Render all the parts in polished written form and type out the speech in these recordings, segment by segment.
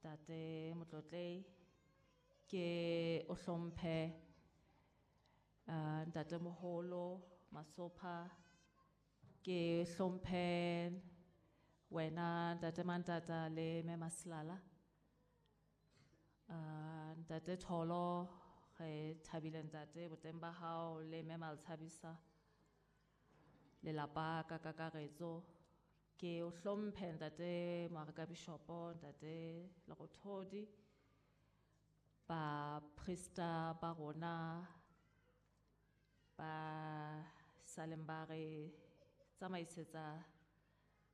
Ntate Motlotlei, ke o hlomphe Ntate Moholo Masopha, ke hlomphe wena Ntate Mantata le Mme Masilala. Ntate Tholo, re thabile ntate boteng ba hao le Mme Maltshabisa, lelapa ka kakaretso. Ke o hlomphe ntate Moarekabishopo, ntate Lerothodi, baprista ba rona ba saleng ba re tsamaisetsa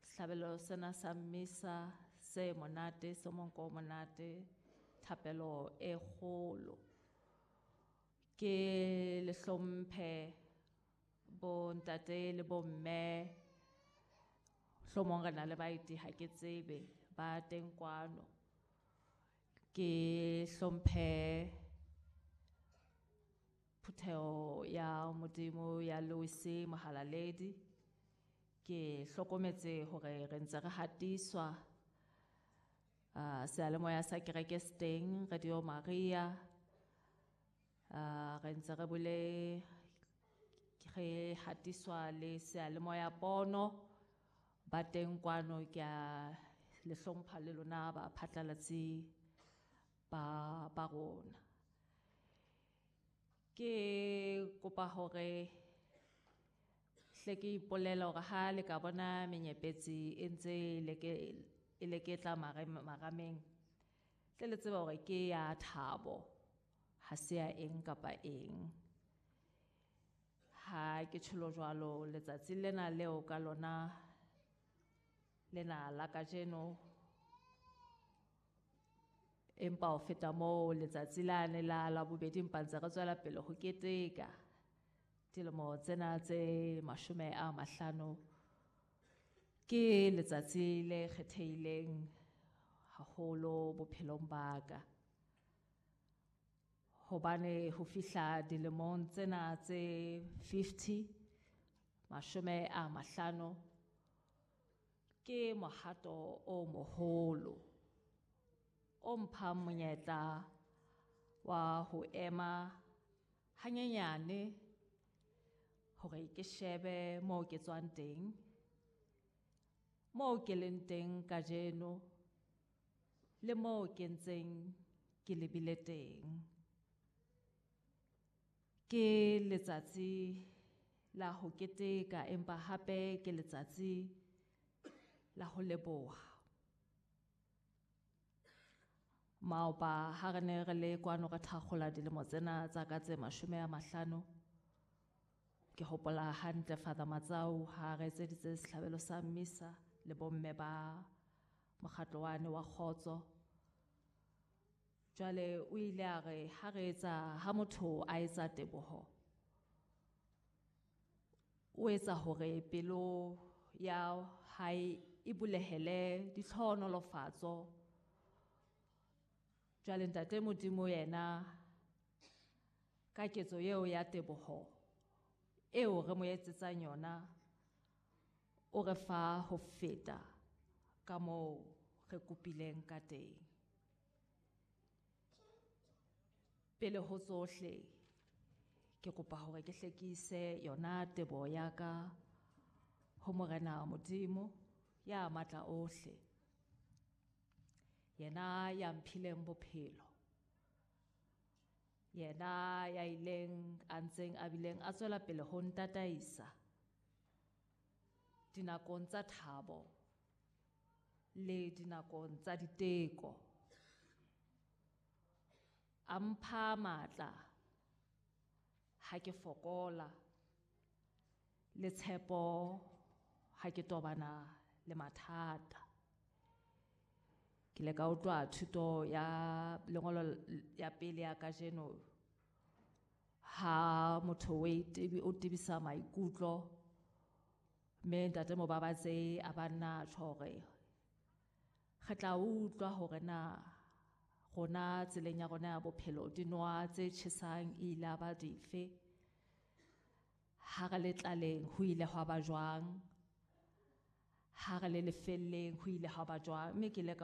sehlabelo sena sa mmisa se monate, se monko o monate, thapelo e kgolo. Ke le hlomphe bo ntate le bo mme, hlomong re na le baeti ha ke tsebe ba teng kwano. Ke hlomphe phutheho ya Modimo ya Louis Mohalaledi. Ke hlokometse hore re ntse re hatiswa seyalemoya sa kereke se teng, Radio Maria. Re ntse re bole re hatiswa le seyalemoya pono ba teng kwano. Ke a le hlompha le lona ba phatlalatsi ba rona. Ke kopa hore hle ke ipolela hore ha le ka bona menyepetsi e ntse e leketla marameng, tle le tsebe hore ke ya thabo, ha se ya eng kapa eng. Ha ke tjholo jwalo, letsatsi lena leo ka lona lena la kajeno, empa ho feta moo letsatsi lane la Labobedi empa ntse re tswela pele ho keteka dilemo tsena tse 50, ke letsatsi le kgethehileng haholo bophelong ba ka. Hobane ho fihla dilemong tsena tse 50, 50, ke mohato o moholo o mphang monyetla wa ho ema hanyenyane hore ke shebe moo ke tswang teng, moo ke leng teng kajeno, le moo ke ntseng ke lebile teng. Ke letsatsi la ho keteka, empa hape ke letsatsi la ho leboha. Maoba ha re ne re le kwano re thakgola dilemo tsena tsa ka tse 50, ke hopola hantle Father Matsau ha re etseditse sehlabelo sa mmisa le bomme ba mokgatlo wane wa kgotso. Jwale o ile a re ha re etsa, ha motho a etsa teboho, o etsa hore pelo ya hae e bulehele ditlhohonolofatso. Jwale ntate Modimo yena ka ketso eo ya teboho eo re mo etsetsang yona, o re fa ho feta ka moo re kopileng ka teng. Pele ho tsohle, ke kopa hore ke hle ke ise yona teboho ya ka ho Morena Modimo ya matla ohle, yena ya mphileng bophelo, yena ya ileng a ntseng a bileng a tswela pele ho ntataisa dinakong tsa thabo le dinakong tsa diteko. A mpha matla ha ke fokola le tshepo ha ke tobana le mathata. Ke ile ka utlwa thuto ya lengolo ya pele ya kajeno ha motho o tebisa maikutlo, mme ntate Mobabatse a ba nna tjho hore re tla utlwa hore na rona tseleng ya rona ya bophelo dinoha tse tjhesang e ile ya ba dife, ha re le tlaleng ho ile hwa ba jwang, ha re le lefelleng ho ile hwa ba jwang. Mme ke ile ka